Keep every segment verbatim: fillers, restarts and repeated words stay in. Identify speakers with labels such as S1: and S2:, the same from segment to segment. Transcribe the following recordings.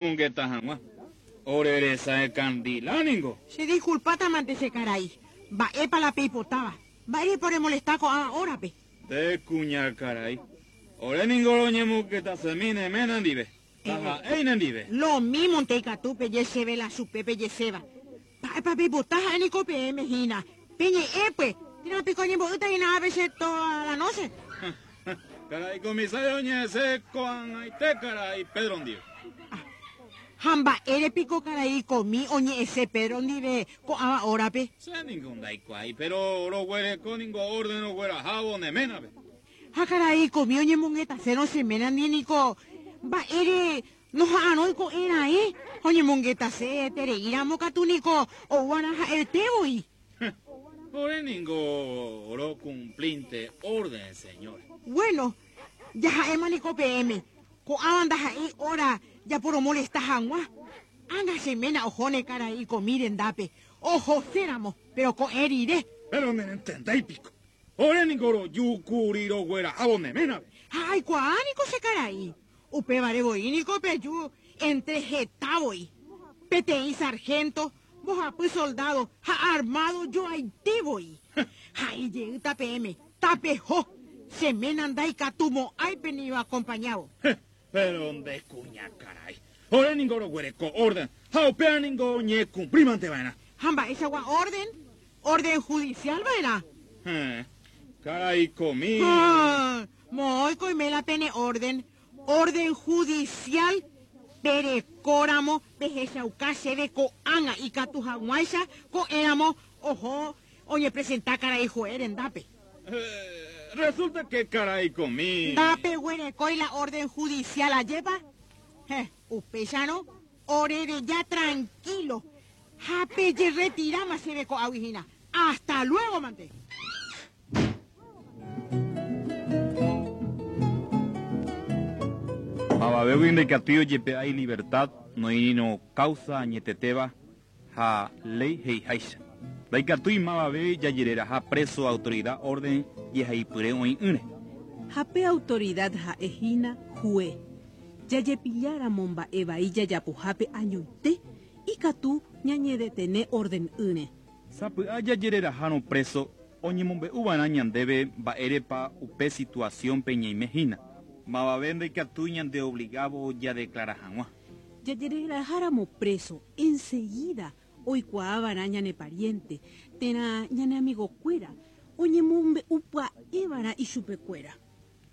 S1: Mongeta hag̃ua. Ore resa ningo.
S2: Se disculpata mante che karai. Mba'épa la peipotáva. Mba'érepa oremolesta ko'ã horape.
S1: Nde kuña karai. Ore ningo roñemongetasemi ne ména ndive. Ndaha'éi nendive.
S2: Lo mismo nte ikatu peje chéve la chupe pejeséva. Mba'épa peipota ha'e niko peẽme hína. Peñe'ẽpy. Térã piko añembo'ýta hína ápe che toda la noche.
S1: Karai comisario oñe'ẽse ko'ag̃aite karai Pedro ndive.
S2: Ha mba'ére piko karai komi oñe'ẽse Pedro ndive ko'ãva horape.
S1: Che ningo ndaikuaái, pero roguereko ningo orden roguerahávo ne ménape.
S2: Ha karai komi oñemongetasérõ che ména ndive niko mba'ére noha'arõi ko'ẽra'e oñemongetase tereíramo katu niko ouarã ha'etévoi.
S1: Ore ningo rocumplinte orden, señor.
S2: Bueno, jaha'éma niko peẽme. Ko'ãva ndaha'éi hora japoromolesta hag̃ua. Ág̃a che ména ohóne karai komi rendápe. Ohoséramo, pero ko'ẽ rire.
S1: Pero nerentendéi piko. Ore ningo rojúkuri roguerahávo ne ménape.
S2: Ha aikuaa niko che karai. Upévare voi niko peju entre heta voi. Peteĩ sargento, mbohapy soldado ha armado joaite voi. Ha ijeýta peẽme, tapeho. Che ména ndaikatumo'ãi penido acompañado.
S1: Pero nde kuña karai. Ore ningo roguereko orden. Ha upéva ningo oñecumplímante va'erã.
S2: Ha mba'eichagua orden? Orden judicial va'erã.
S1: Eh, karai komi.
S2: Ah, moõiko oime la pene orden. Orden judicial perekóramo pehechauka chéve ko'ág̃a ikatu hag̃uáicha ko'ẽramo oho oñepresenta karai juez rendápe.
S1: Eh, resulta que karai komi.
S2: Ndapeguerekói la orden judicial ajépa. Eh, upéicharõ orereja tranquilo. Ha pejeretiráma chéve ko'águi hína. Hasta luego, mante.
S1: Mavavégui ndaikatúi ojepe'a libertad noĩrõ causa añetetéva ha ley he'iháicha. Ndaikatúi mavave jajereraha preso autoridad orden jehaipyre oĩ'ỹre.
S3: Ha pe autoridad ha'ehína juez. Jajepilláramo mba'e vai jajapohápe añoite ikatu ñañedetene orden'ỹre.
S1: Sapy'a jajererahárõ preso oñemombe'uva'erã ñandéve mba'érepa upe situación-pe ñaimehína. Mavave ndaikatúi ñandeobligávo jadeclara hag̃ua.
S3: Jajereraháramo preso enseguida oikuaava'erã ñane pariente térã ñane amigokuéra oñemombe'upya'eva'erã ichupekuéra.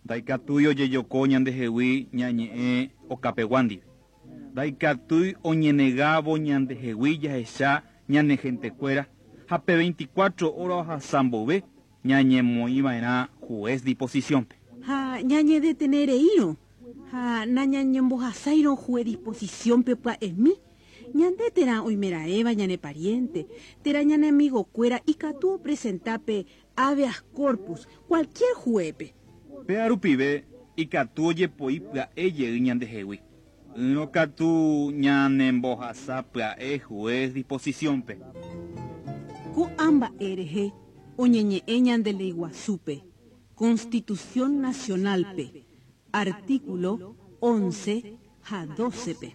S1: Ndaikatúi ojejoko ñandehegui ñañe'ẽ okapegua ndive. Ndaikatúi oñenegávo ñandehegui jahecha ñane gentekuéra ha pe veinticuatro horas ohasa mbove ñañemoĩva'erã juez disposición-pe.
S3: Ha ñañedetenereírõ ha nañañembohasáirõ juez disposición-pe pya'emi ñande térã oimeraẽva ñane pariente térã ñane amigokuéra ikatu opresentápe habeas corpus cualquier juez-pe.
S1: Péa rupive ikatu ojepoi pya'e jey ñandehegui. Ỹrõ katu ñanembohasa pya'e juez disposición-pe.
S3: Ko'ã mba'e rehe oñeñe'ẽ ñande léi guasúpe, Constitución Nacional-pe, artículo once ha doce-pe.